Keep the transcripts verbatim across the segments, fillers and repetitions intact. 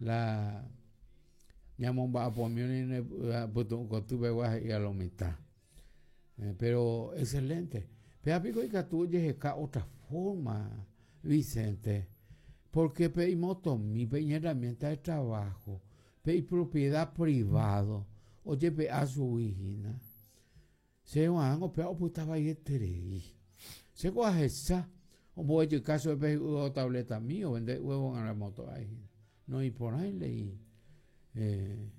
La ñamomba'apomi pytu'u he'i a lo mitã. Eh, pero excelente. Péa piko ikatu ojeheka otra forma, Vicente, porque pe imotomi, pe iñherramienta de trabajo, pe ipropiedad privado, ojepe'a chugui hína. Che g̃uarãngo péva opytavaieterei. Chéko ahecha omboguejyka chupe pe hi'ýva tabletami ovende huevo moto hína. Noĩporãi lei eh,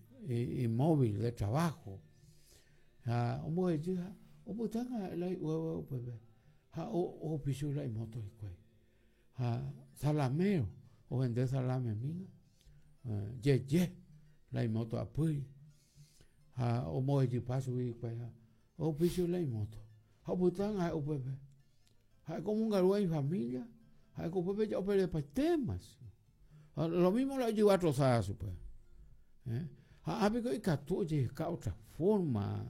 imóvil de trabajo. Ha omboguejy ha opytánga la hi'ýva upépe. Ha ohupi chupe la imoto hikuái. Ha salamero, ovende salamemína. Eh, jeje la imoto apýri. Ha omboguejypa chugui hikuái ha ohupi chupe la imoto. Ha opytánga upépe. Ha'éko omongarúva ifamilia, ha'éko upépe ja operepaitéma. Lo mismo la ojyva trozada chupe. Eh? Ha ápiko ikatu ojeheka otra forma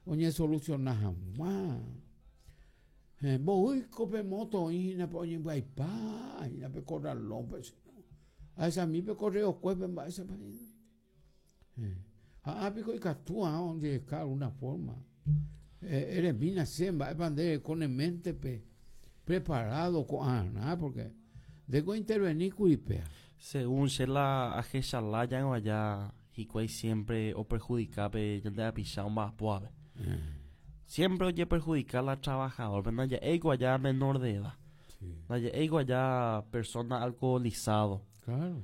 oñesoluciona hag̃ua. Eh, mboýiko pe moto oĩ hína pe oñembyaipa hína pe corralónpe ahechami pe correokuépe mba'éichapa hína. Eh, ha ápiko ikatu ojeheka alguna forma. Eh, eremína che mba'épa nde reko ne mente-pe preparado ko'ãrã porque ndéko interveni kuri péa. Según che la ahechala allá hikuái siempre operjudica pe ñande rapicha omba'apóvape. Eh. Siempre oje perjudica la trabajador, pero ndaja'éiko allá menor de edad. Sí. Ndaja'éiko allá persona alcoholizado. Claro.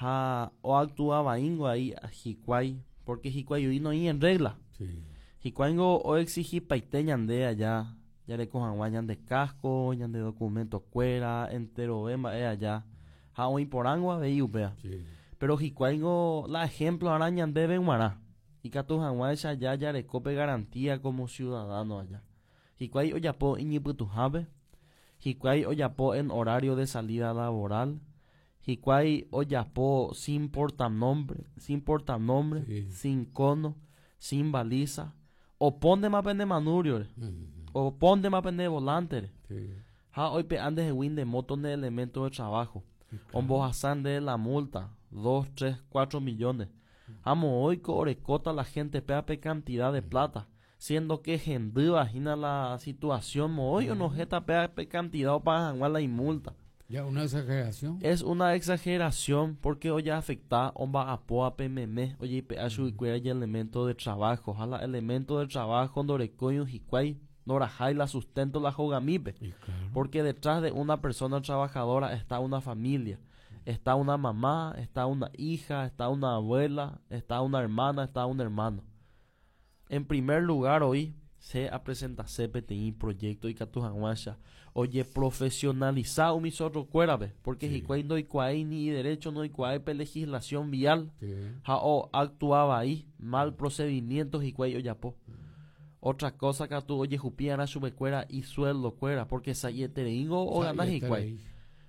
Ha oactuaba ahí hikuái, porque hikuái oĩ noĩ en regla. Sí. Hikuáingo oexigipaite ñande allá jareko hag̃ua ñande casco, ñande documento kuéra, enterove mba'e allá. Ha oĩporãngo avei upéva. Sí. Pero hikuáingo la ejemplo arã ñandéve g̃uarã. Ikatu hag̃uáicha allá jarekópe garantía como ciudadano allá. Hikuái ojapo iñipytuhápe, hikuái ojapo en horario de salida laboral, hikuái ojapo sin portanombre, sin portanombre, Sí. sin cono, sin baliza, opóntema pende manubrio, Mm. opóntema pende volante, Sí. ha oipe'a ndehegui nde moto nde elemento de trabajo, Sí, claro. ombohasa nde la multa, dos, tres, cuatro millones. Amo oiko orekóta la gente péa pe cantidad de plata, siendo que hendýva hína la situación moõi onohéta péa pe cantidad opaga hag̃ua la imulta. Ya una exageración. Es una exageración porque oye afecta omba'apóvape meme ojeipe'a chuguikuéra elemento de trabajo ha la elemento de trabajo ndorekói hikuái ndorahái la sustento la hogamípe. Y claro. Porque detrás de una persona trabajadora está una familia, está una mamá, está una hija, está una abuela, está una hermana, está un hermano. En primer lugar hoy se presentase peteĩ proyecto ikatu hag̃uáicha oje profesionaliza umi zorrokuérape porque Sí. hikuái ndoikuaái ni derecho ndoikuaái pe legislación vial Sí. ha o actuaba ahí mal procedimiento hikuái ojapo. Otra cosa katu ojehupi'arã chupekuéra isueldokuéra porque sa'ietereingo ogana hikuái.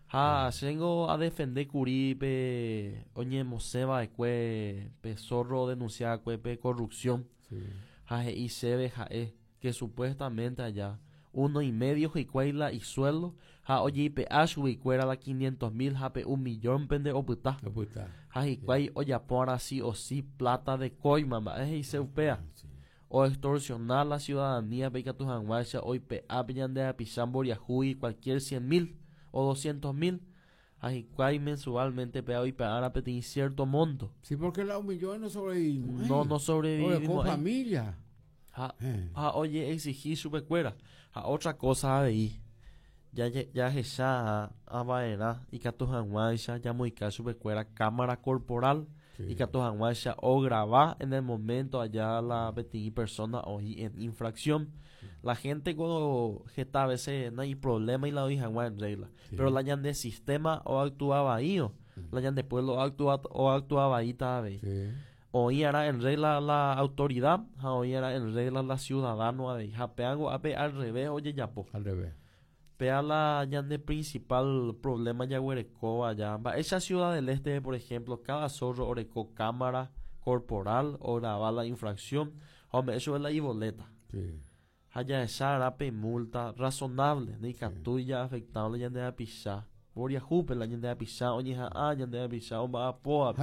Ha chéngo adefende kuri pe oñemosẽva'ekue pe zorro denuncia'ekue pe corrupción. Sí. Ha he'i chéve ha'e que supuestamente allá uno y medio hikuái la isueldo ha ojeipe'a chuguikuéra la quinientos mil ha pe un millón pende opyta. Opyta. Ha hikuái ojapo sí o sí plata de coima mba'e he'ise upéva. Sí. O extorsionar la ciudadanía pe ikatu hag̃uáicha oipe'a pe ñande rapicha mboriahúgui cualquier cien mil o doscientos mil ha hikuái mensualmente pe oipe'ára peteĩ cierto monto. Sí, porque la un millón no sobrevivimos. No, no sobrevivimos. Con familia. Ha, Eh. ha oje exigí chupekuéra. Ha otra cosa avei ya jahecha ava'erã ikatu hag̃uáicha jamoĩka chupekuéra cámara corporal Sí. ikatu hag̃uáicha ograba en el momento allá la peteĩ persona oĩ en infracción. La gente cuando heta veces no hay problema y la oĩ hag̃ua en regla. Sí. Pero la ñande sistema o actuaba ahí, la ñande pueblo actúa o actuaba ahí avei. Sí. Oĩarã en regla la autoridad ha oĩarã en regla la ciudadano avei. Ha péango ápe al revés ojejapo. Al revés. Péa la ñande principal problema jaguerekóva allá. Mba'éicha Ciudad del Este, por ejemplo, cada zorro oreko cámara corporal o graba la infracción ha ome'ẽ chupe la iboleta. Sí. Ha jahecharã pe multa razonable, ndaikatúi jaafectable ñande rapicha. Mboriahúpe la ñande rapicha oñeha'ã ñande rapicha omba'apóvape.